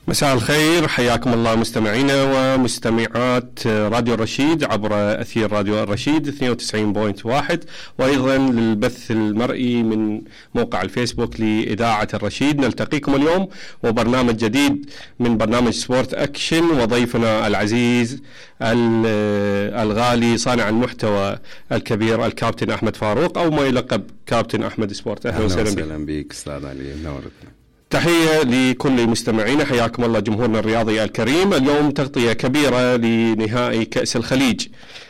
مساء الخير، حياكم الله مستمعينا ومستمعات راديو الرشيد عبر أثير راديو الرشيد 92.1، وأيضا للبث المرئي من موقع الفيسبوك لإذاعة الرشيد. نلتقيكم اليوم وبرنامج جديد من برنامج سبورت أكشن، وضيفنا العزيز الغالي صانع المحتوى الكبير الكابتن أحمد فاروق، أو ما يلقب كابتن أحمد سبورت. أهلا وسهلا بك أستاذ علي، نورتنا. تحية لكل مستمعينا، حياكم الله جمهورنا الرياضي الكريم. اليوم تغطية كبيرة لنهائي كأس الخليج،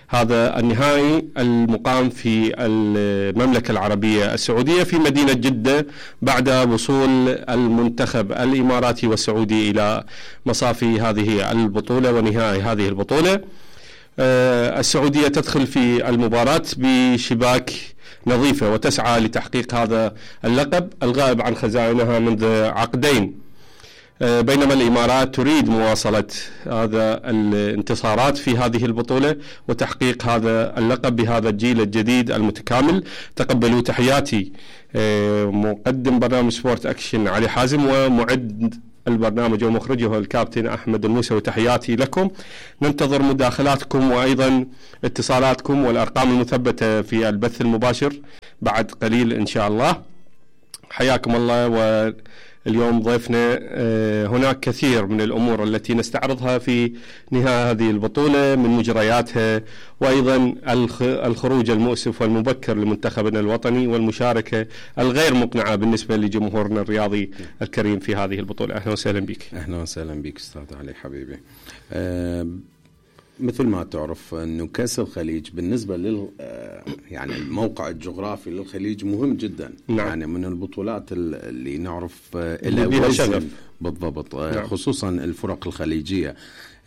هذا النهائي المقام في المملكة العربية السعودية في مدينة جدة بعد وصول المنتخب الإماراتي والسعودي إلى مصافي هذه البطولة ونهائي هذه البطولة. السعودية تدخل في المباراة بشباك نظيفة وتسعى لتحقيق هذا اللقب الغائب عن خزائنها منذ عقدين، بينما الإمارات تريد مواصلة هذا الانتصارات في هذه البطولة وتحقيق هذا اللقب بهذا الجيل الجديد المتكامل. تقبلوا تحياتي مقدم برنامج سبورت أكشن علي حازم، ومعد البرنامج ومخرجه الكابتن أحمد الموسوي، تحياتي لكم. ننتظر مداخلاتكم وأيضا اتصالاتكم والأرقام المثبتة في البث المباشر بعد قليل إن شاء الله. حياكم الله. واليوم ضيفنا هناك كثير من الأمور التي نستعرضها في نهاية هذه البطولة من مجرياتها، وأيضا الخروج المؤسف والمبكر لمنتخبنا الوطني والمشاركة الغير مقنعة بالنسبة لجمهورنا الرياضي الكريم في هذه البطولة. أهلا وسهلا بك. أهلا وسهلا بك أستاذ علي حبيبي. مثل ما تعرف أنه كأس الخليج بالنسبة يعني الموقع الجغرافي للخليج مهم جدا. نعم. يعني من البطولات اللي نعرف لها وزن بالضبط. نعم. خصوصا الفرق الخليجية.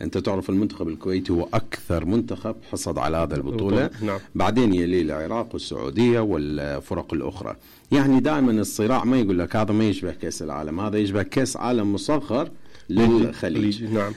أنت تعرف المنتخب الكويتي هو أكثر منتخب حصد على هذا البطولة. نعم. بعدين يلي العراق والسعودية والفرق الأخرى. يعني دائما الصراع ما يقول لك هذا ما يشبه كأس العالم، هذا يشبه كأس عالم مصغر للخليج. نعم.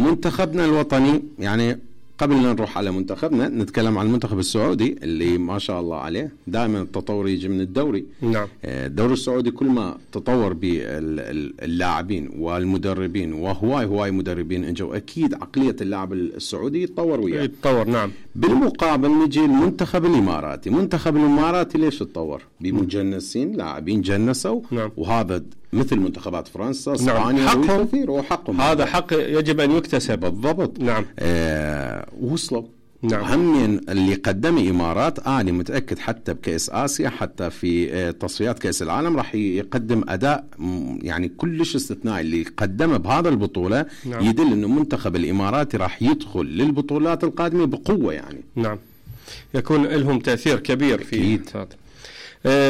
منتخبنا الوطني، يعني قبل أن نروح على منتخبنا نتكلم عن المنتخب السعودي اللي ما شاء الله عليه دائما التطور يجي من الدوري. نعم. الدوري السعودي كل ما تطور باللاعبين والمدربين، وهواي مدربين اجوا، اكيد عقلية اللاعب السعودي يتطور وياه. يتطور. نعم. بالمقابل نجي المنتخب الاماراتي. المنتخب الاماراتي ليش تطور؟ بمجنسين، لاعبين جنسوا. نعم. وهذا مثل منتخبات فرنسا، اسبانيا. نعم. وحقهم هذا حق يجب ان يكتسب. بالضبط. نعم. وصلوا. نعم. هم اللي قدم الإمارات أنا متأكد حتى بكأس آسيا، حتى في تصفيات كأس العالم راح يقدم أداء يعني كلش استثنائي. اللي قدمه بهذا البطولة نعم. يدل أنه منتخب الإماراتي راح يدخل للبطولات القادمة بقوة. يعني نعم، يكون لهم تأثير كبير في هذا.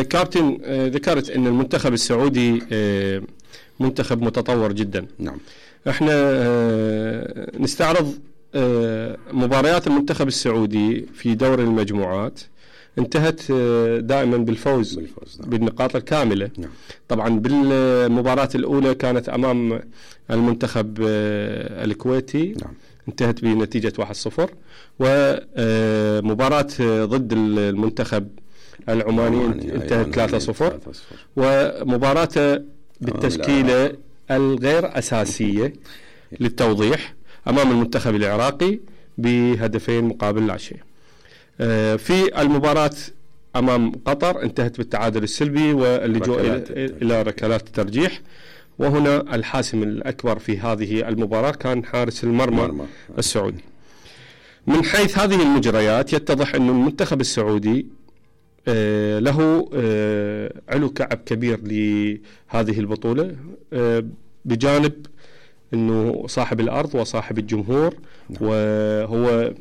كابتن، ذكرت أن المنتخب السعودي منتخب متطور جدا. نعم. احنا نستعرض مباريات المنتخب السعودي في دور المجموعات، انتهت دائما بالفوز. نعم. بالنقاط الكاملة. نعم. طبعا بالمباراة الأولى كانت أمام المنتخب الكويتي. نعم. انتهت بنتيجة 1-0. ومباراة ضد المنتخب العماني انتهت 3-0. ومباراة بالتشكيلة الغير أساسية للتوضيح أمام المنتخب العراقي بهدفين مقابل لا شيء. في المباراة أمام قطر انتهت بالتعادل السلبي واللجوء إلى ركلات الترجيح. وهنا الحاسم الأكبر في هذه المباراة كان حارس المرمى السعودي. من حيث هذه المجريات يتضح أن المنتخب السعودي له علو كعب كبير لهذه البطولة، بجانب أنه صاحب الأرض وصاحب الجمهور. نعم. وهو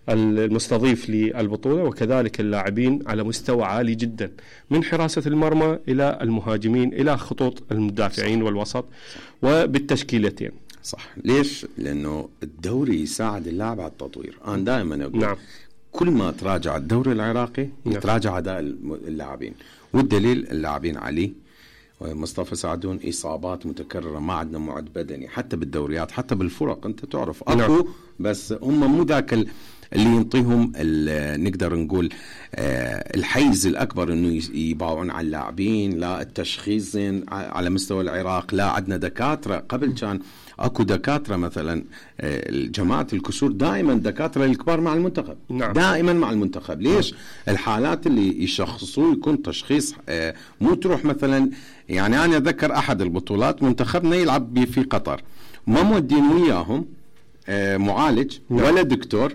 المستضيف للبطولة، وكذلك اللاعبين على مستوى عالي جدا من حراسة المرمى إلى المهاجمين إلى خطوط المدافعين والوسط وبالتشكيلتين. صح. ليش؟ لأنه الدوري يساعد اللاعب على التطوير. أنا دائما أقول نعم. كل ما تراجع الدوري العراقي يتراجع أداء اللاعبين، والدليل اللاعبين علي ومصطفى سعدون إصابات متكررة، ما عندنا معد بدني حتى بالدوريات حتى بالفرق. أنت تعرف أكو. نعم. بس هم مو ذاك اللي ينطيهم نقدر نقول الحيز الأكبر إنه يباوعون على اللاعبين. لا التشخيص زين على مستوى العراق، لا عندنا دكاترة. قبل كان اكو دكاترة مثلا جماعة الكسور دائما دكاترة الكبار مع المنتخب. نعم. دائما مع المنتخب. ليش؟ الحالات اللي يشخصوه يكون تشخيص مو تروح مثلا. يعني أنا أذكر أحد البطولات منتخبنا يلعب في قطر، ما مودين وياهم معالج ولا دكتور،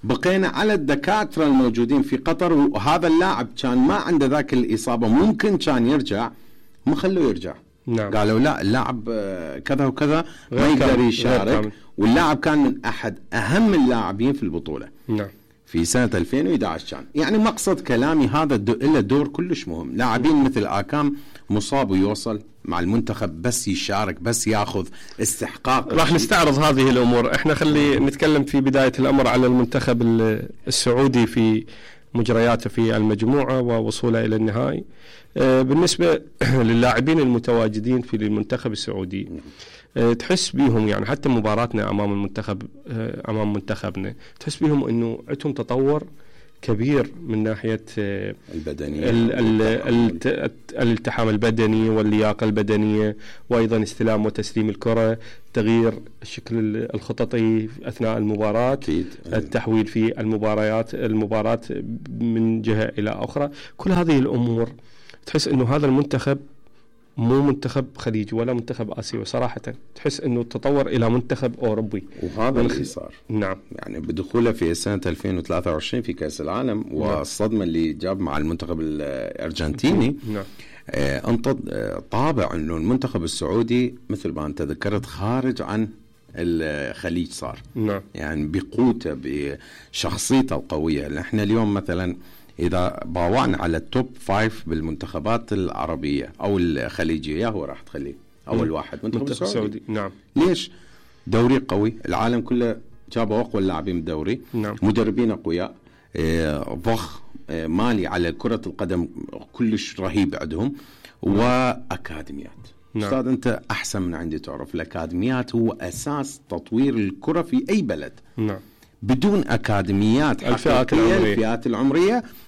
بقينا على الدكاترة الموجودين في قطر، وهذا اللاعب كان ما عنده ذاك الإصابة ممكن كان يرجع، ما خلوه يرجع. نعم. قالوا لا اللاعب كذا وكذا ما يقدر يشارك، واللاعب كان من أحد أهم اللاعبين في البطولة. نعم. في سنة 2011 كان. يعني مقصد كلامي هذا له دور كلش مهم. لاعبين مثل آكام مصاب ويوصل مع المنتخب بس يشارك، بس ياخذ استحقاق. راح نستعرض هذه الأمور. احنا خلي نتكلم في بداية الأمر على المنتخب السعودي في مجرياته في المجموعة ووصوله إلى النهائي. بالنسبة للاعبين المتواجدين في المنتخب السعودي، تحس بيهم يعني حتى مباراتنا أمام المنتخب أمام منتخبنا تحس بيهم إنه عندهم تطور كبير من ناحية البدنية، الالتحام البدني واللياقة البدنية، وأيضا استلام وتسليم الكرة، تغيير الشكل الخططي أثناء المباراة، التحويل في المباراة من جهة إلى أخرى. كل هذه الأمور تحس إنه هذا المنتخب مو منتخب خليجي ولا منتخب آسيوي، صراحة تحس إنه تطور إلى منتخب أوروبي. وهذا اللي صار. نعم. يعني بدخوله في سنة 2023 في كأس العالم، والصدمة اللي جاب مع المنتخب الأرجنتيني. نعم. طابع إنه المنتخب السعودي مثل ما أنت ذكرت خارج عن الخليج صار. نعم. يعني بقوته بشخصيته القوية. نحن اليوم مثلا إذا باوعنا على التوب 5 بالمنتخبات العربية أو الخليجية، يا هو راح تخليه أول واحد منتخب السعودي. نعم. ليش؟ دوري قوي، العالم كله جابوا أقوى اللاعبين بالدوري. نعم. مدربين أقوياء، ضخ مالي على كرة القدم كلش رهيب عندهم، وأكاديميات. نعم. أستاذ أنت أحسن من عندي تعرف الأكاديميات هو أساس تطوير الكرة في أي بلد. نعم. بدون أكاديميات حقيقية الفئات العمرية